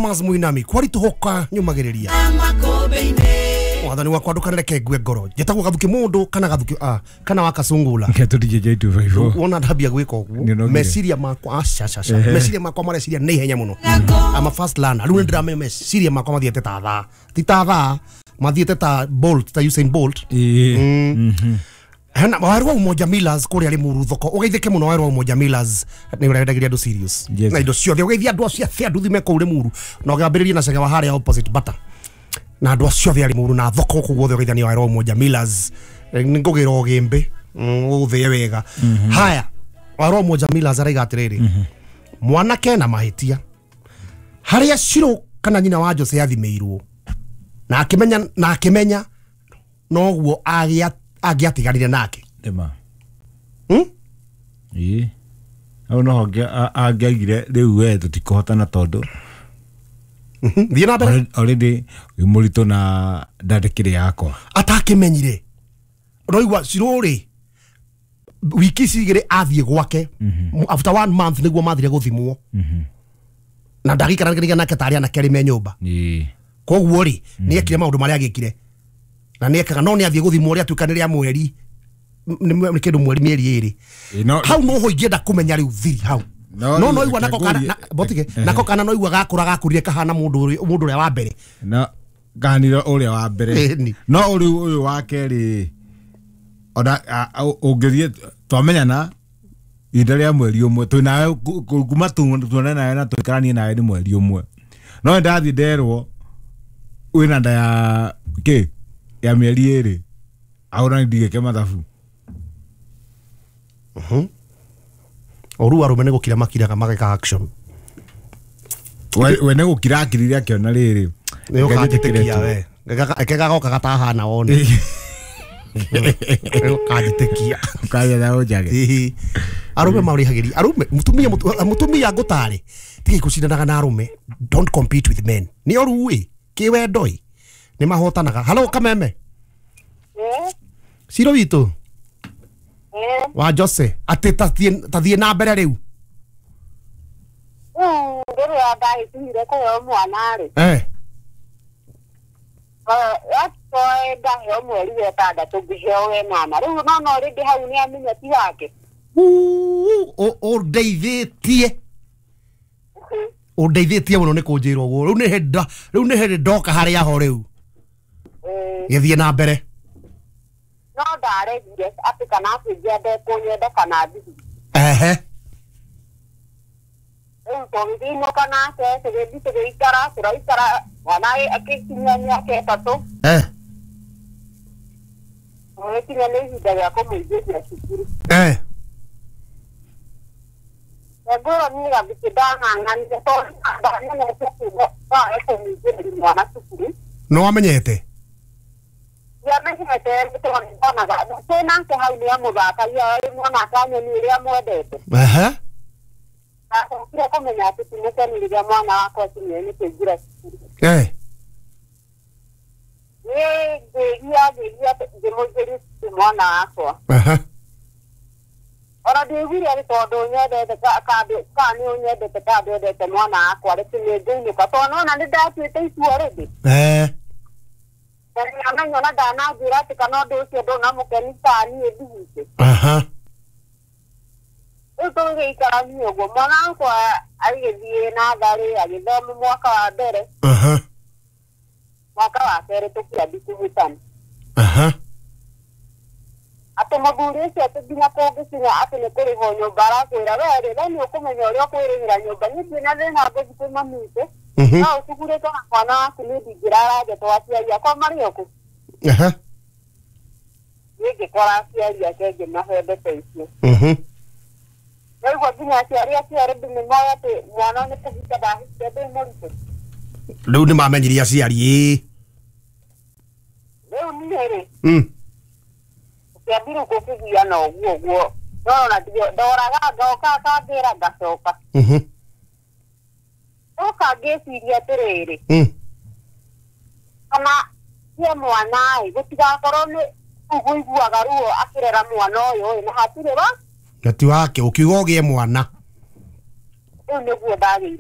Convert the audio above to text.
Thomas Muinami kwaritũhũka nyũmagĩrĩria wathani wakwa ndũkanareke ngue ngoro njĩtagwo Gathuki mũndũ kana Gathuki kana wa Kasungula. Wona ndambia gwĩka ũguo meciria makwa aca aca aca meciria makwa mareciria nĩ ihenya mũno. I'm a fast learner. Rĩu nĩndĩramenya meciria makwa mathiĩte ta thaa, ti ta thaa, mathiĩte ta Bolt, ta Usain Bolt. Hena waru wa Umoja Millers kũrĩa Limuru thoko ũgeithĩke mũno. Waru wa Umoja Millers nĩ ũrendagĩria andũ serious na indo ciothe, ũgeithia andũ acio athe andũ thime kũu Limuru na ũgambĩrĩrie na cege wa harĩa opposite Bata na andũ acio othe a Limuru na thoko kũu guothe ũgeithania waru wa Umoja Millers. Nĩngũgĩra ũgĩmbĩ ũthĩe wega. Haya, waru wa Umoja Millers araiga atĩrĩrĩ, mwanake na mahĩtia harĩa Shiro kana nyina wa Jose athimĩirwo na akĩmenya, na akĩmenya noguo angĩatiganire nake. Nĩma. Ĩĩ. Hau noho angĩaigire rĩu we tũtikũhotana tondũ thiĩ na mbere already wĩ mũritũ na ndandĩkĩrĩ yakwa. Atakĩmenyire. Ũraigua Shiro rĩ wiki ici igĩrĩ athiĩ gwake after 1 month nĩguo mathire gũthimwo na ndagĩikaranĩria nake tarĩ anake arĩ me nyũmba. Koguo rĩ nĩ ekire maũndũ marĩa agĩkire na nĩ ekaga no nĩ athiĩ gũthimwo ũrĩa atuĩka nĩ rĩa mweri nĩ kĩndũ mweri mĩeri ĩrĩ hau noho ingĩenda kũmenya rĩu thiri hau no no igua nako kana botige nako kana no igua gakũra gakũrire kahana mũndũ ũrĩa wa mbere na ganire ũrĩa wa mbere no rĩu ũyũ wa kerĩ ona ũngĩthiĩ twamenyana ihinda rĩa mweri ũmwe twĩ nawe kuma tuonane nawe na tũikaranie nawe nĩ mweri ũmwe no ndathiĩ nderwo wĩna nda ya kĩ ya mĩeri ĩrĩ aũra ndigĩke mathabu. Oru arũme nĩ gũkira makiraga mageka action. We nĩ gũkira akirire akĩona rĩrĩ nĩ ũkanjĩtĩkia we eke gagoka gatahana wone ũkanjĩtĩkia ũkagetha ũnjage. Arũme marĩhagĩria arũme mũtumia ngũtarĩ tigai gũcindanaga na arũme. Don't compete with men. Nĩ oru ĩ kĩwendo ĩ nĩ mahotanaga. Halo Kameme. Ciro witũ wa Jose atĩ tathiĩ na mbere rĩu. Rĩrĩa ndahĩtũire kũheo mwana rĩ ndaheo mweri wa ĩtandatũ ngĩheo wenana rĩu no rĩngĩ hau nĩ amenya ti wake. Ũndeithĩtie ũndeithĩtie mũno nĩ kũnjĩra ũguo. Rĩu nĩ hĩndĩ ndoka harĩa ho rĩu gĩthiĩ na mbere. No ndaregire atĩ kana akĩnjia ndekũnyenda kana thithi. Rĩu tũgĩthiĩ nake tũgĩthiĩ tũgĩikara tũraikara mwana akĩkinyia mĩaka ĩtatũ. Tũgĩkinya nĩ ihinda rĩa kũmũingĩria cukuru. Ngũrwo niĩ Gathuki ndang'ang'anire tondũ ndamenyete noe kũmũingĩria mwana cukuru. Nĩ wamenyete? Ndiamenyete tondũ ndonaga twĩ nake hau nĩ amũthakagia mwana akanyoni ũrĩa mwendete. Ndacokire kũmenya atĩ ti mũkeni rĩrĩa mwana wakwa akinyire nĩ kũingĩra cukuru. Niĩ ngĩgia ngĩmũingĩria cukuru mwana wakwa. Ona ndiaiguire atĩ tondũ nyendete kana nĩ ũnyendete kana ndwendete mwana wakwa rĩ nĩ ngũinũka tondũ nĩwona nĩ ndatuĩte itua rĩngĩ. Na nĩamenya ona ndananjĩra atĩ kana ũndũ ũcio ndũnamũkeni kana niĩ ndigite. Rĩu tũgĩikarania ũguo mwana wakwa agĩthiĩ natharĩ agĩthoma mwaka wa mbere. Mwaka wa kerĩ tũkĩambia kũhĩtana. Atĩ mũthuri ũcio atĩ nginya kũngĩkinya atĩ nĩ kũrĩhwo nyũmba arakwĩra we rĩ we nĩ ũkũmenya ũrĩa ũkwĩrĩhĩra nyũmba niĩ ndirĩ na thĩna ngũthiĩ kwĩ mami witũ no ũcugurĩtwo na mwana waku niĩ ndingĩrara nja tondũ aciari akwa marĩ o kũ. Niĩ ngĩkora aciari ake ngĩmahe mbeca icio. Naigua nginya aciari acio already nĩ moĩ atĩ mwana nĩ kũhika ndahikire ndĩ mũritũ. Rĩu nĩ mamenyirie aciari ĩĩ. Rĩu niĩ rĩ kĩambire gũkĩgiana ũguo ũguo no ona ndoraga ngoka akambĩra ngacoka. Ndoka ngĩciria atĩrĩrĩ kana sie mwana ĩ gũtigakorwo nĩ ũguiguaga ruo akĩrera mwana ũyũ ĩ na hatirĩ wa na ti wake ũkiuga ũgĩe mwana. Rĩu nĩguo ndagĩire